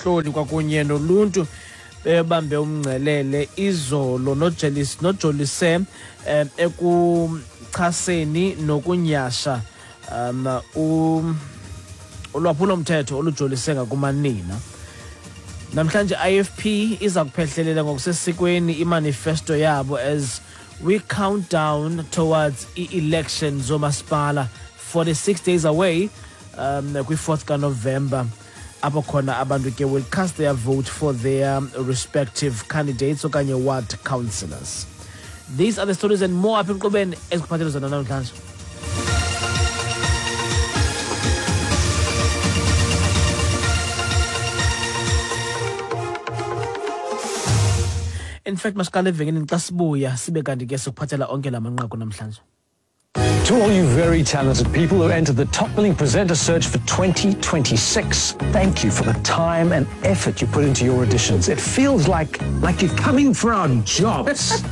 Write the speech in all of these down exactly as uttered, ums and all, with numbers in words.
abahloli kwakunye noluntu bebambe umngcelele izolo nojolise um ekuchaseni nokunyasha um ulwaphulomthetho olujolise ngakumanina. Namhlanje I F P iza kuphehlelela ngokusesikweni imanifesto yabo as we count down towards i-elections zomasipala, forty-six days away, um kwi-fourth kaNovember, apho khona abantu ke will cast their vote for their respective candidates okanye ward councillors. These are the stories and more apha enkqubeni ezikuphathele zona namhlanje. In fact, masiqale evenkileni xa sibuya sibe kanti ke sikuphathela onke la manqaku namhlanje. To all you very talented people who entered the Top Billing Presenter Search for twenty twenty-six, thank you for the time and effort you put into your auditions. It feels like, like you're coming for our jobs.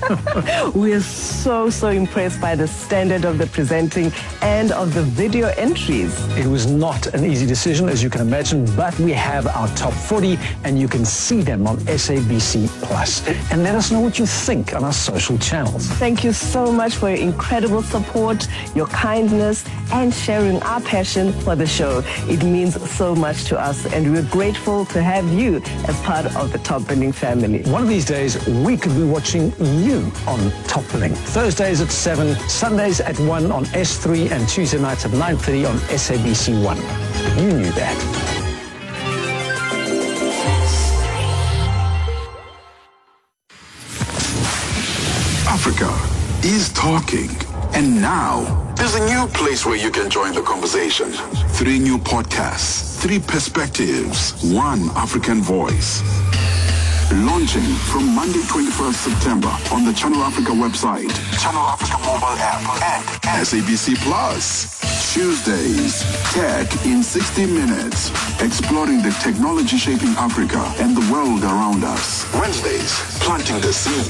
We're so, so impressed by the standard of the presenting and of the video entries. It was not an easy decision, as you can imagine, but we have our top forty and you can see them on S A B C Plus. And let us know what you think on our social channels. Thank you so much for your incredible support, your kindness, and sharing our passion for the show. It means so much to us, and we're grateful to have you as part of the Top Billing family. One of these days, we could be watching you on Top Billing. Thursdays at seven, Sundays at one on S three, and Tuesday nights at nine thirty on S A B C one. You knew that. Africa is talking. And now, there's a new place where you can join the conversation. Three new podcasts, three perspectives, one African voice. Launching from Monday twenty-first September on the Channel Africa website, Channel Africa mobile app, and S A B C Plus. Tuesdays, Tech in sixty minutes, exploring the technology shaping Africa and the world around us. Wednesdays, planting the seed,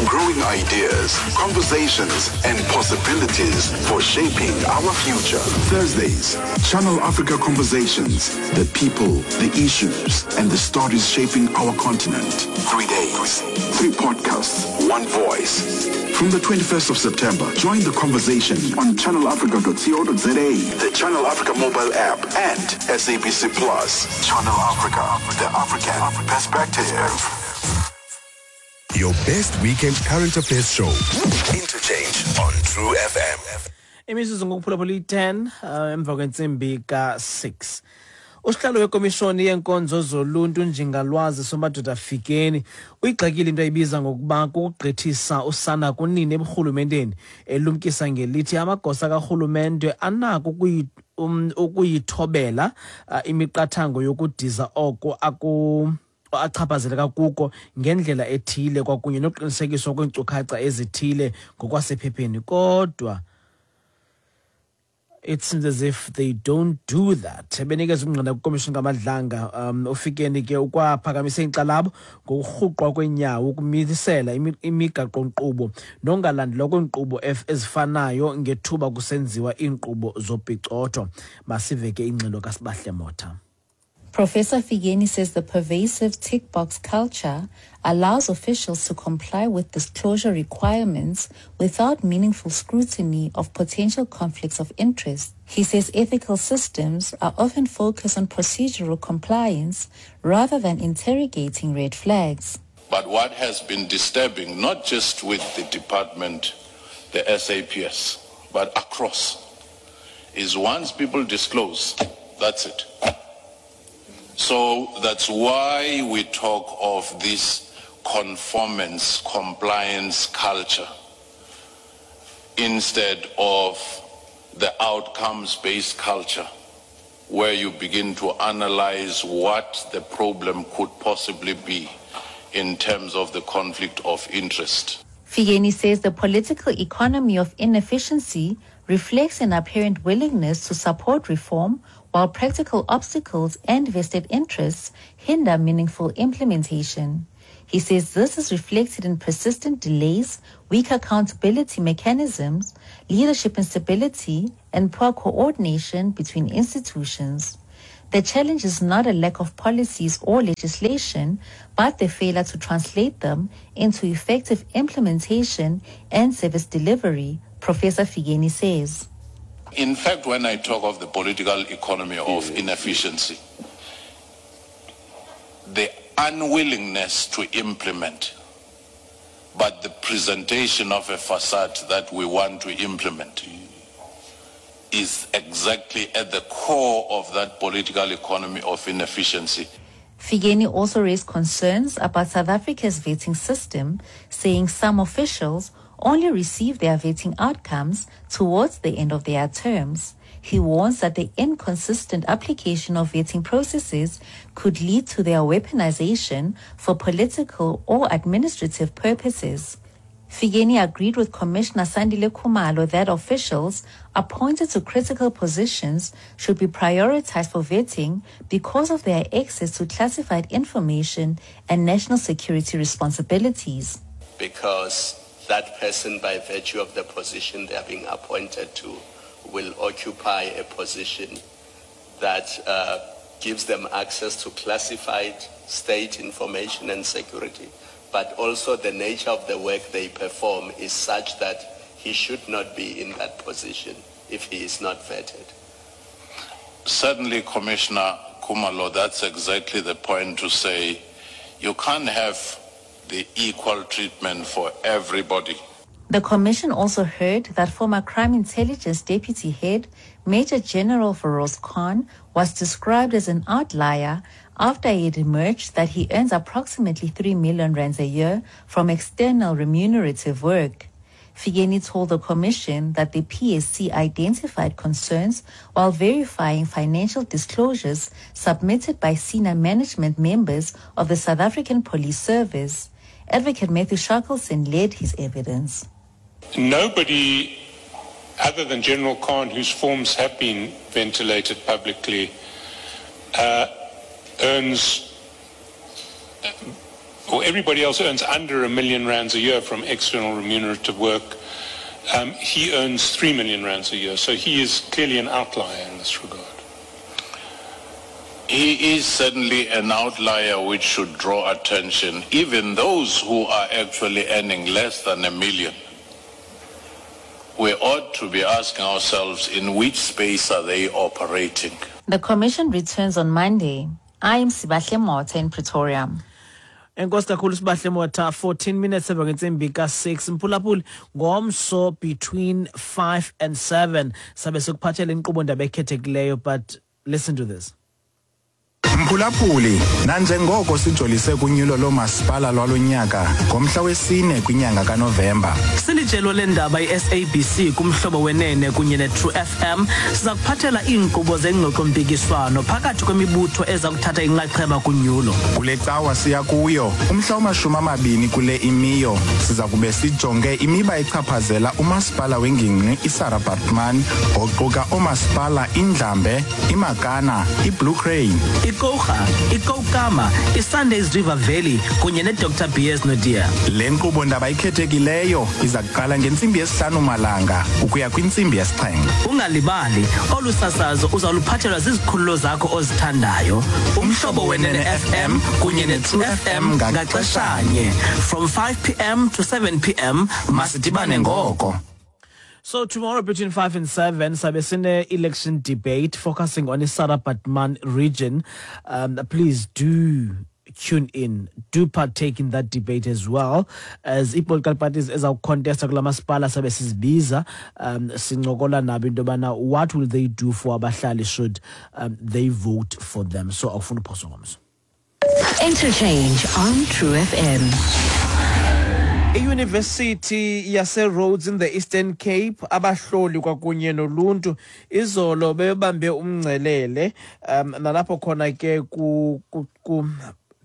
growing ideas, conversations, and possibilities for shaping our future. Thursdays, Channel Africa Conversations, the people, the issues, and the stories shaping our continent. Three days, three podcasts, one voice. From the twenty-first of September, join the conversation on channel africa dot co dot za, the Channel Africa mobile app, and S A B C Plus. Channel Africa, the African perspective. Your best weekend current affairs show, Interchange on True F M. Imizuzu ngokuphulaphula i-ten emva kwentsimbi ka-six. Usihlalo wekomishoni yenkonzo zoluntu Njingalwazi Somadoda Fikeni uyigxekile into ayibiza ngokuba kukugqithisa usana kunini eburhulumenteni, elumkisa ngelithi amagosa karhulumente anako ukuyithobela imiqathango yokudiza oko aku achaphazeleka kuko ngendlela ethile kwakunye nokuqinisekiswa kweenkcukacha ezithile ngokwasephepheni, kodwa it seems as if they don't do that. Benikeza ubungqina kwikomishoni kaMadlanga, um uFikeni ke ukwaphakamise inkxalabo ngokurhuqwa kweenyawo ukumisela imigaqo-nkqubo nongalandelwa kweenkqubo ezifanayo ngethuba kusenziwa iinkqubo zopicotho. Masive ke ingxelo kaSibahle Motha. Professor Fikeni says the pervasive tick box culture allows officials to comply with disclosure requirements without meaningful scrutiny of potential conflicts of interest. He says ethical systems are often focused on procedural compliance rather than interrogating red flags. But what has been disturbing, not just with the department, the S A P S, but across, is once people disclose, that's it. So that's why we talk of this conformance, compliance culture instead of the outcomes-based culture where you begin to analyze what the problem could possibly be in terms of the conflict of interest. Fikeni says the political economy of inefficiency reflects an apparent willingness to support reform while practical obstacles and vested interests hinder meaningful implementation. He says this is reflected in persistent delays, weak accountability mechanisms, leadership instability, and poor coordination between institutions. The challenge is not a lack of policies or legislation, but the failure to translate them into effective implementation and service delivery, Professor Fikeni says. In fact, when I talk of the political economy of inefficiency, the unwillingness to implement, but the presentation of a facade that we want to implement is exactly at the core of that political economy of inefficiency. Fikeni also raised concerns about South Africa's vetting system, saying some officials only receive their vetting outcomes towards the end of their terms. He warns that the inconsistent application of vetting processes could lead to their weaponization for political or administrative purposes. Fikeni agreed with Commissioner Sandile Khumalo that officials appointed to critical positions should be prioritized for vetting because of their access to classified information and national security responsibilities. Because that person, by virtue of the position they are being appointed to, will occupy a position that uh, gives them access to classified state information and security, but also the nature of the work they perform is such that he should not be in that position if he is not vetted. Certainly, Commissioner Khumalo, that's exactly the point to say you can't have the equal treatment for everybody. The commission also heard that former Crime Intelligence Deputy Head, Major General Feroz Khan, was described as an outlier after it emerged that he earns approximately three million rands a year from external remunerative work. Fikeni told the commission that the P S C identified concerns while verifying financial disclosures submitted by senior management members of the South African Police Service. Advocate Matthew Shackleton led his evidence. Nobody other than General Khan, whose forms have been ventilated publicly, uh, earns, or everybody else earns under a million rands a year from external remunerative work. Um, he earns three million rands a year, so he is clearly an outlier in this regard. He is certainly an outlier which should draw attention, even those who are actually earning less than a million. We ought to be asking ourselves, in which space are they operating? The commission returns on Monday. I am Sibahle Motha in Pretoria. Enkosi kakhulu Sibahle Motha, fourteen minutes emva kwentsimbi ka-six. Mphulaphuli, ngomso between five and seven sabe sikuphathele inkqubo ndaba ekhethekileyo, but listen to this. Mphulaphuli, nanjengoko sijolise kunyulo lomasipala lwalonyaka ngomhla wesine kwinyanga kaNovemba. Silijelo lendaba i-S A B C kumhlobo wenene kunye ne-True F M siza kuphathela iinkqubo zengxoxo-mpikiswano phakathi kwemibutho eza kuthatha inxaxheba kunyulo. Kule cawa siya kuyo umhla wamashumi amabini kule imiyo siza kube sijonge imiba echaphazela umasipala wengingqi iSarah Baartman oquka oomasipala iNdlambe, iMakana, iBlue Crane, iKouga, iKoukamma, iSundays River Valley kunye ne-Doctor B S Naudé. Le nkqubo ndaba ikhethekileyo iza kuqala ngentsimbi yesihlanu malanga ukuya kwintsimbi yesixhenxe. Ungalibali, olu sasazo uzawuluphathelwa zizikhululo zakho ozithandayo. Umhlobo Wenene F M kunye ne-True F M ngaxeshanye from five p m to seven p m masidibane ngoko. So tomorrow between five and seven, sabe sine election debate focusing on the Sarah Baartman region. Um, please do tune in, do partake in that debate as well. As i-political parties ezawucontesta kula masipala sabe sizibiza, um, sincokola nabo into yobana what will they do for abahlali should um, they vote for them. So awufuna uphoso ngomso. Interchange on True F M. I-University yase-Rhodes in the Eastern Cape abahloli kwakunye noluntu izolo bebambe umngcelele, um nalapho khona ke ku, ku, ku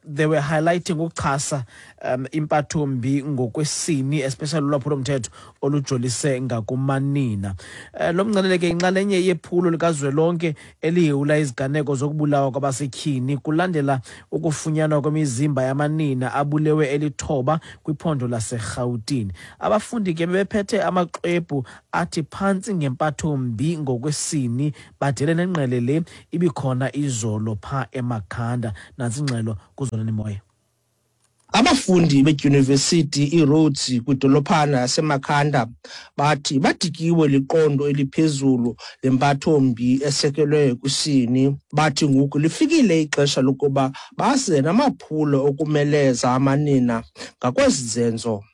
they were highlighting ukuchasa um, impathombi ngokwesini, especially ulwaphulomthetho olujolise ngakumanina. Uh, lo mngcelele ke inxalenye yephulo likazwelonke elihewula iziganeko zokubulawa kwabasetyhini kulandela ukufunyanwa kwemizimba yamanina abulewe elithoba kwiphondo laseRhawutini. Abafundi ke bebephethe amaxwebhu athi phantsi ngempathombi ngokwesini, badele nengqele le ibikhona izolo pha eMakhanda. Nantsi ingxelo kuZolani Moya. Abafundi bedyunivesithi iRhodes kwidolophana yaseMakhanda bathi badikiwe liqondo eliphezulu lempathombi esekelwe kwisini. Bathi ngoku lifikile ixesha lokuba baze namaphulo okumeleza amanina ngakwezi zenzo.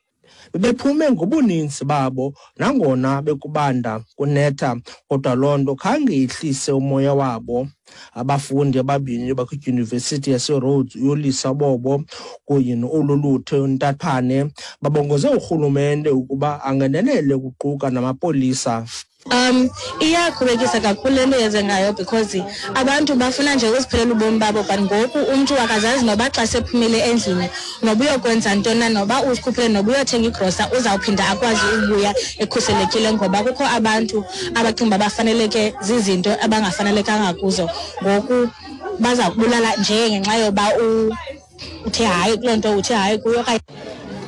Bebephume ngobuninzi babo nangona bekubanda kunetha, kodwa loo nto khange ihlise umoya wabo. Abafundi ababini bakwidyunivesithi yaseRhodes, uYolisa Bobo kunye noOluluthe Ntaphane, babongoze urhulumente ukuba angenelele kuquka namapolisa. Um iyakhubekisa kakhulu le nto yenzengayo because abantu bafuna nje ukuziphilela ubomi babo, but ngoku umntu akazazi noba xa sephumile endlini noba uyokwenza ntoni na, noba uzikhuphile noba uyothenga igrosa, uzawuphinda akwazi ukubuya ekhuselekile, ngoba kukho abantu abacinga uba bafaneleke zizinto abangafanelekanga kuzo. Ngoku baza kubulala nje ngenxa yoba uthe hayi kuloo nto, uthe hayi kuyo.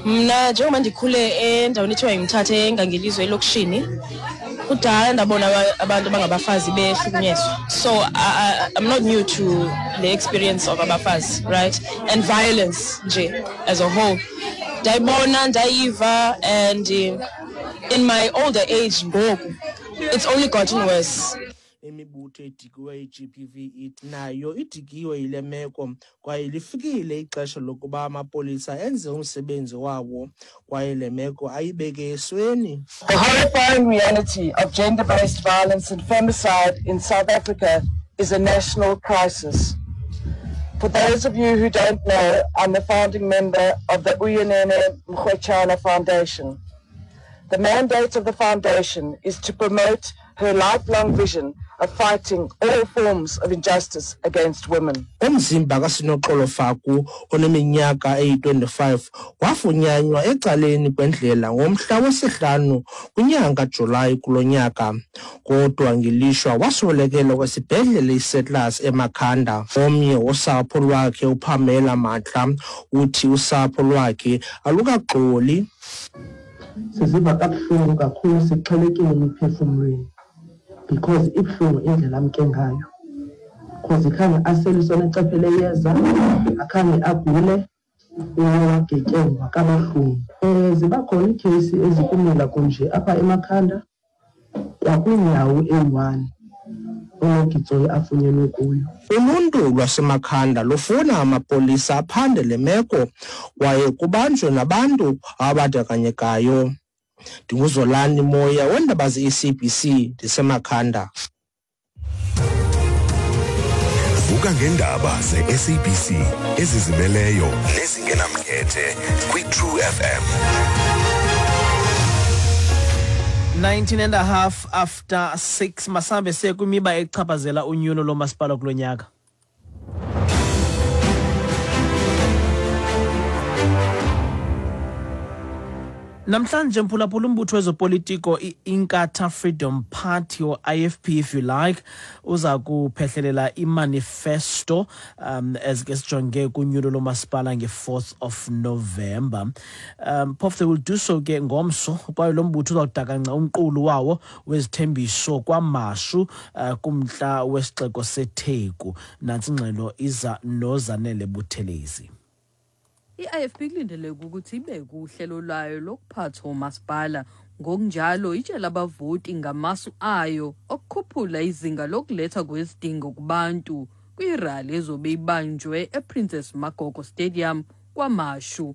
Mna njengoba ndikhule endaweni ethiwa yiMthatha eNgangelizwe elokishini, kudala ndabona abantu abangabafazi behlukunyezwa. So I, I, I'm not new to the experience of abafazi, right? And violence nje as a whole. Ndayibona, ndayiva, and in my older age ngoku, it's only gotten worse. Imibutho edikiwe i-G B V ithi nayo idikiwe yile meko kwaye lifikile ixesha lokuba amapolisa enze umsebenzi wawo kwaye le meko ayibeke esweni. The horrifying reality of gender-based violence and femicide in South Africa is a national crisis. For those of you who don't know, I'm the founding member of the Uyinene Mrwetyana Foundation. The mandate of the foundation is to promote her lifelong vision of fighting all forms of injustice against women. Umzimba kaSinoxolo Faku oneminyaka eyi twenty-five wafunyanwa ecaleni kwendlela ngomhla wesihlanu kwinyanga Julayi kulo nyaka, kodwa ngelishwa waswelekela kwesibhedlele iSettlers eMakhanda. Omnye wosapho lwakhe uPamela Matla uthi usapho lwakhe alukaxoli. Siziva kabuhlungu kakhulu, sixhelekile emiphefumlweni because ibuhlungu indlela amke ngayo, because khange aseliswe necephe leyeza, akhange agule, wagetyengwa kabuhlungu. Um ziba khona iikheyisi ezikumila kunje apha eMakhanda kwakwindawo eyi-one uNogitsoyi afunyenwe kuyo. Uluntu lwaseMakhanda lufuna amapolisa aphande le meko kwaye kubanjwe nabantu abandakanyekayo. NdinguZolani Moya weendaba ze-E C B C ndiseMakhanda. Vuka ngeendaba ze-S A B C ezizimeleyo nezingenamkhethe kwi-True F M. nineteen and a half after six, masambe siye kwimiba echaphazela unyulo lomasipala kulo nyaka. Namhlanje mphulaphula, umbutho wezopolitiko i-Inkatha Freedom Party, or I F P if you like, uza kuphehlelela imanifesto um as ke sijonge kunyulo lomasipala nge-fourth of November. Um phofu they will do so ke ngomso, kwaye lo mbutho uzawudakanca umqulu wawo wezithembiso kwaMashu uh, kumntla wesixeko seTheku. Nantsi ingxelo iza noZanele Buthelezi. I-I F P kulindeleke ukuthi ibe kuhlelo lwayo lokuphatha umasipala, ngokunjalo itshela abavoti ngamasu ayo okukhuphula izinga lokuletha kwezidingo kubantu kwirali ezobe ibanjwe ePrincess Magogo Stadium kwaMashu.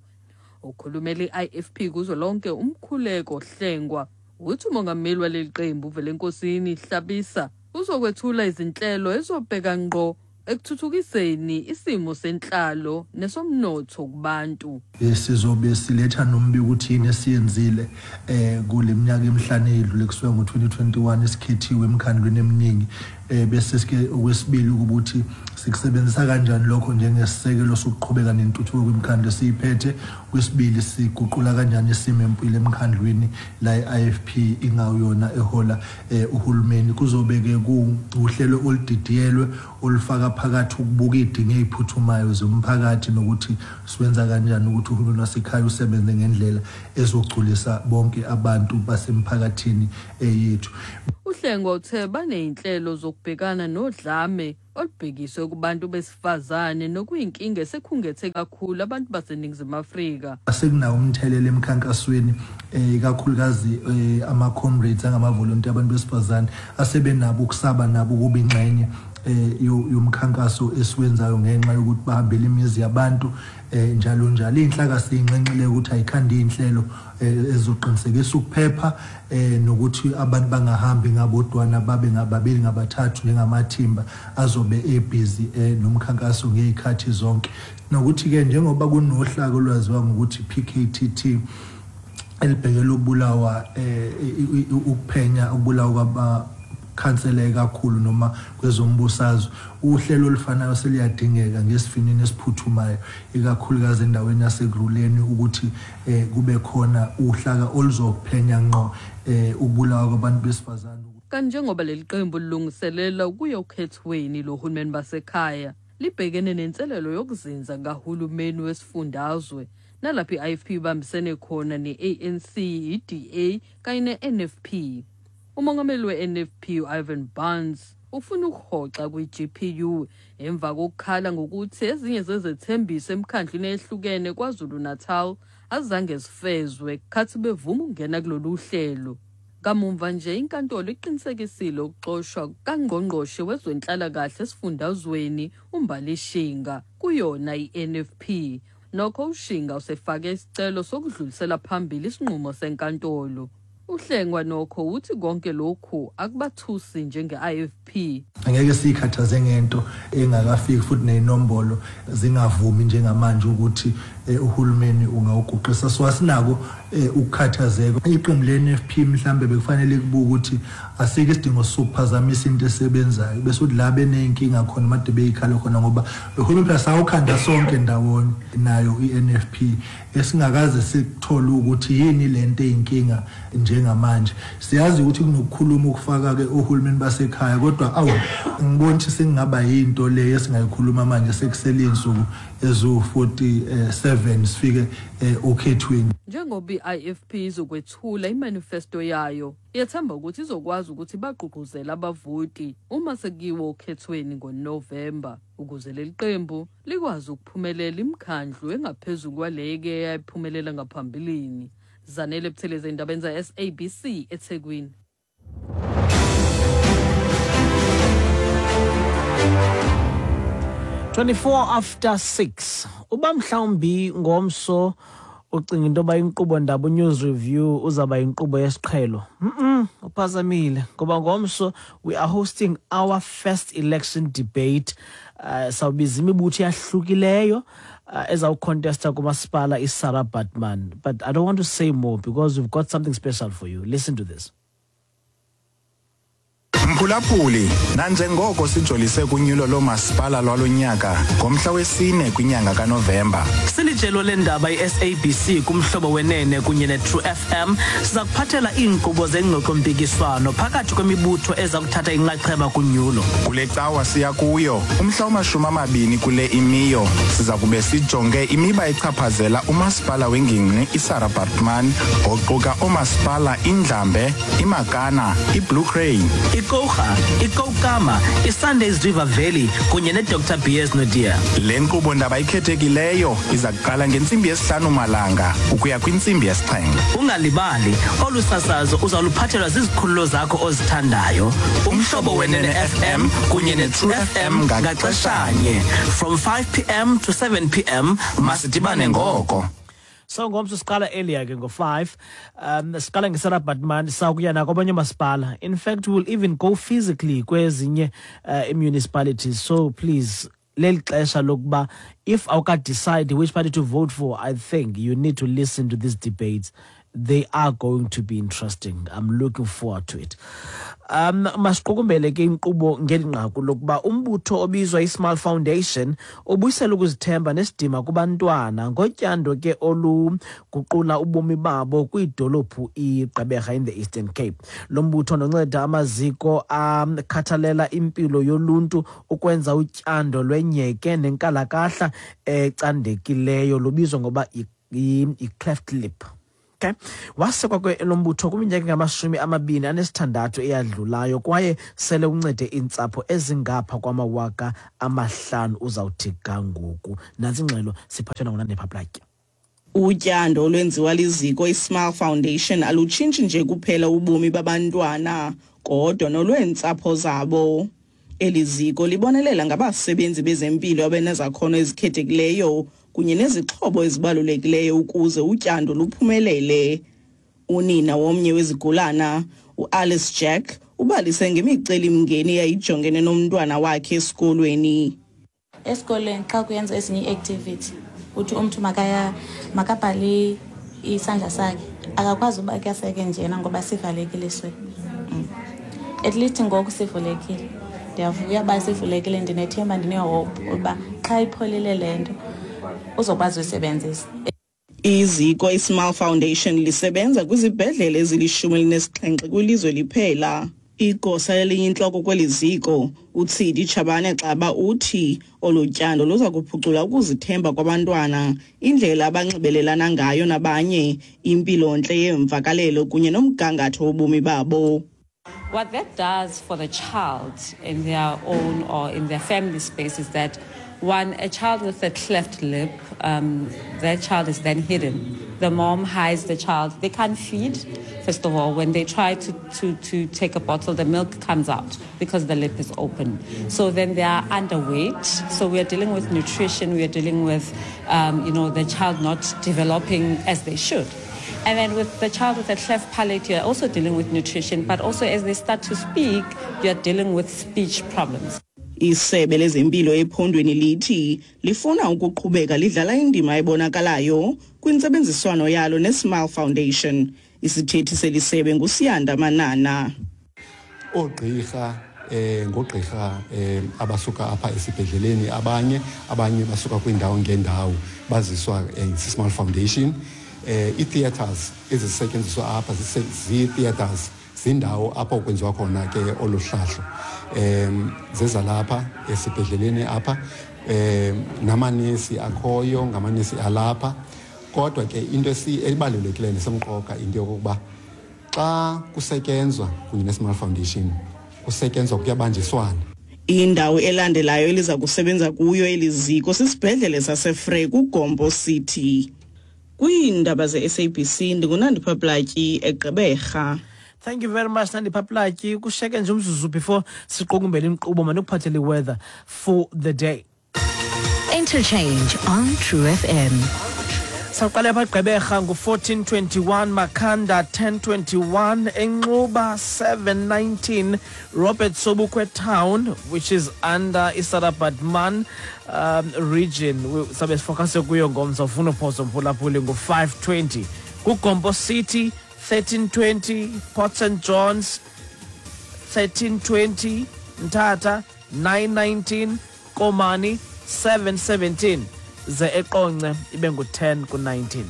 Okhulumela i-I F P kuzolonke uMkhuleko Hlengwa uthi umongameli waleli qembu Velenkosini Hlabisa uzokwethula izinhlelo ezobheka ngqo ekuthuthukiseni isimo senhlalo nesomnotho kubantu. Sizobe siletha nombiko ukuthi yini esiyenzile eh kule minyaka emihlanu edlule kusuka ngo twenty twenty-one esikhethiwe emkhandlweni eminingi Bese sike okwesibili ukuthi sikusebenzisa kanjani lokho njengesisekelo sokuqhubeka nentuthuko kwimikhandlu esiyiphethe. Kwesibili, siguqula kanjani isimo empilo emkhandlwini la i-I F P ingawuyona ehola uhulumeni. Kuzobe-ke kuuhlelo oludidiyelwe olufaka phakathi ukubuka iy'dingo ey'phuthumayo zomphakathi nokuthi siwenza kanjani ukuthi uhulumeni wasekhaya usebenze ngendlela ezogculisa bonke abantu basemphakathini yethu. Uhlengwa uthe baney'nhlelo zokubhekana nodlame olubhekiswe kubantu besifazane nokuyinkinga esekhungethe kakhulu abantu baseNingizimu Afrika. Sekunawo umthelela emkhankasweni, ikakhulukazi ama-comrades angamavolontiya abantu besifazane asebenabo ukusaba nabo ukuba ingxenye yomkhankaso esiwenzayo ngenxa yokuthi bahambele imizi yabantu njalo njalo. Iy'nhlaka siyinxenxile ukuthi ayikhandi iy'nhlelo ezoqinisekisa ukuphepha nokuthi abantu bangahambi ngabodwana, babe ngababili ngabathathu njengamathimba azobe ebhizi nomkhankaso ngey'khathi zonke. Nokuthi-ke njengoba kunohlaka olwaziwa ngokuthi P K T T elibhekele ukubulawa, ukuphenya ukubulawa kwaba khansele kakhulu noma kwezombusazwe, uhlelo olufanayo seliyadingeka ngesivinini esiphuthumayo ikakhulukazi endaweni yasekuruleni ukuthi kube khona uhlaka oluzophenya ngqo ukubulawa kwabantu besifazane. Kanti njengoba leli qembu lilungiselela ukuya okhethweni lohulumeni basekhaya, libhekene nenselelo yokuzinza kahulumeni wesifundazwe nalapho i-I F P ibambisene khona ne-A N C, i-D A kanye ne-N F P. Umongameli we-N F P u-Ivan Barnes ufuna ukuhoxa kwi-G P U emva kokukhala ngokuthi ezinye zezethembiso emkhandlwini ehlukene KwaZulu-Natal azange zifezwe khathi bevuma ukungena kulolu hlelo. Kamumva nje inkantolo iqinisekisile ukuxoshwa kangqongqoshe wezwenhlalakahle esifundazweni uMbali Shinga kuyona i-N F P. Nokho uShinga usefake isicelo sokudlulisela phambili isinqumo senkantolo. Uhlengwa nokho uthi konke lokhu akubathusi njenge-I F P. Angeke siyikhathaze ngento engakafiki futhi ney'nombolo zingavumi njengamanje ukuthi uhulumeni ungawuguqisa. So asinako ukukhathazeka. Iqembu le-N F P mhlambe bekufanele kubuke ukuthi asike isidingo sokuphazamisa into esebenzayo bese uthi la beney'nkinga khona made beyikhala khona, ngoba uhulumeni phela sawukhanda sonke ndawonye nayo i-N F P esingakaze sikuthole ukuthi yini lento eyinkinga njengamanje. Siyazi ukuthi kunokukhuluma ukufaka-ke ohulumeni basekhaya, kodwa awu ngibona ukuthi sengingaba yinto le esingayikhuluma manje sekusele iy'nsuku eziwu forty-seven sifike okhethweni. Njengoba i-I F P izokwethula imanifesto yayo, iyathemba ukuthi izokwazi ukuthi bagqugquzele abavoti uma sekuyiwe okhethweni ngoNovemba ukuze leli qembu likwazi ukuphumelela imikhandlu engaphezulu kwaleke eyayiphumelela ngaphambilini. Zanele Buthelezi, endabeni za-S A B C eThekwini. twenty-four after six. Uba mhlawumbi ngomso ucinga into yoba inkqubo ndaba News Review uzaba inkqubo yesiqhelo. Mm-mm, uphazamile ngoba ngomso we are hosting our first election debate. Uh, sawubiza imibutho eyahlukileyo uh, ezawucontesta kumasipala iSarah Baartman. But I don't want to say more because we've got something special for you. Listen to this. Mphulaphuli, nanjengoko sijolise kunyulo lomasipala lwalonyaka ngomhla wesine kwinyanga kaNovemba. Silijelo lendaba i-S A B C kumhlobo wenene kunye ne-True F M siza kuphathela iinkqubo zengxoxo-mpikiswano phakathi kwemibutho eza kuthatha inxaxheba kunyulo. Kule cawa siya kuyo umhla wamashumi amabini kule imiyo siza kube sijonge imiba echaphazela umasipala wengingqi iSarah Baartman oquka oomasipala iNdlambe, iMakana, iBlue Crane, iKouga, iKoukamma, iSundays River Valley kunye ne-Doctor B S Nodia. Le nkqubo ndaba ikhethekileyo iza kuqala ngentsimbi yesihlanu malanga ukuya kwintsimbi yesixhenxe. Ungalibali, olu sasazo uzawuluphathelwa zizikhululo zakho ozithandayo. Umhlobo Wenene F M kunye ne-True F M ngaxeshanye from five p m to seven p m masidibane ngoko. So ngomso siqala earlier ke ngo-five. Um siqala ngeSarah Baartman sawukuya nakwabanye oomasipala. In fact, we'll even go physically kwezinye uh, municipalities. So please, leli xesha lokuba if awuka decide which party to vote for, I think you need to listen to these debates. They are going to be interesting. I'm looking forward to it. Um masiqukumbele ke inkqubo ngeli nqaku lokuba umbutho obizwa iSmile Foundation ubuyisela ukuzithemba nesidima kubantwana ngotyando ke oluguqula ubomi babo kwidolophu iGqeberha in the Eastern Cape. Lo mbutho nonceda amaziko akhathalela impilo yoluntu ukwenza utyando lwenyeke nenkalakahla ecandekileyo lubizwa ngoba i-cleft lip. Okay. Wasekwa ke lo mbutho kwiminyaka engamashumi amabini anesithandathu eyadlulayo kwaye sele uncede iintsapho ezingapha kwamawaka amahlanu uzawuthi ga ngoku. Nantsi ingxelo siphathwe nguNandipha Platya. Utyando olwenziwa liziko iSmile Foundation alutshintshi nje kuphela ubomi babantwana kodwa nolweentsapho zabo. Eli ziko libonelela ngabasebenzi bezempilo abenezakhono ezikhethekileyo kunye nezixhobo ezibalulekileyo ukuze utyando luphumelele. Unina womnye wezigulana, uAlice Jack, ubalise ngemicelimngeni eyayijongene nomntwana wakhe esikolweni. Esikolweni xa kuyenza ezinye ii-activity, uthi umntu makaya makabhale isandla sakhe, akakwazi uba kuyaseke njena ngoba sivalekile swe. At least ngoku sivulekile. Ndiyavuya uba sivulekile, ndinethemba, ndinehope uba xa ipholile le nto uzokwazi uyisebenzisa. Iziko iSmile Foundation lisebenza kwizibhedlele ezilishumi elinesixhenxe kwilizwe liphela. Igosa eliyintloko kweli ziko, uTsidi Chabane Xaba, uthi olu tyando luza kuphucula ukuzithemba kwabantwana, indlela abanxibelelana ngayo nabanye, impilontle yeemvakalelo kunye nomgangatho wobomi babo. What that does for the child in their own or in their family space is that, one, a child with a cleft lip, um, that child is then hidden. The mom hides the child. They can't feed, first of all. When they try to, to, to take a bottle, the milk comes out because the lip is open. So then they are underweight. So we are dealing with nutrition. We are dealing with, um, you know, the child not developing as they should. And then with the child with a cleft palate, you're also dealing with nutrition, but also as they start to speak, you're dealing with speech problems. Isebe lezempilo ephondweni lithi lifuna ukuqhubeka lidlala indima ebonakalayo kwintsebenziswano yalo neSmile Foundation. Isithethi selisebe nguSiyanda Manana. Oogqirha eh ngogqirha eh abasuka apha esibhedleleni, abanye abanye basuka kwindawo ngendawo baziswa eh, Smile Foundation. Eh i-theaters ezisetyenziswa apha zii-theaters zindawo apho kwenziwa khona ke olu hlahlo, em zeza lapha esibhedleleni apha, em namanesi akhoyo ngamanesi alapha. Kodwa ke into ebalulekileyo nesemqoka into yokuba xa kusetyenzwa kunye neSmile Foundation kusetyenzwa kuyabanjiswana. Indawo elandelayo eliza kusebenza kuyo eliziko sisibhedlele saseFrey kuGompo City. Kwiindaba ze-S A B C ndinguNandipha Platyi eGqeberha. Thank you very much, Nandipha Platyi. Kusheke nje umzuzu before siqukumbele inkqubo mandikuphathele weather for the day. Interchange on True F M. Sawuqala apha Gqeberha ngu-fourteen twenty-one, Makhanda ten twenty-one, Enxuba seven nineteen, Robert Sobukwe Town, which is under iSarah Baartman um, region. Sabe sifocuse kuyo ngomso ufuna uphoso mphulaphuli ngu-five twenty. KuGompo City thirteen twenty, Port Saint John's thirteen twenty, Mthatha nine nineteen, Komani seven seventeen. Ze eQonce ibe ngu-ten ku nineteen.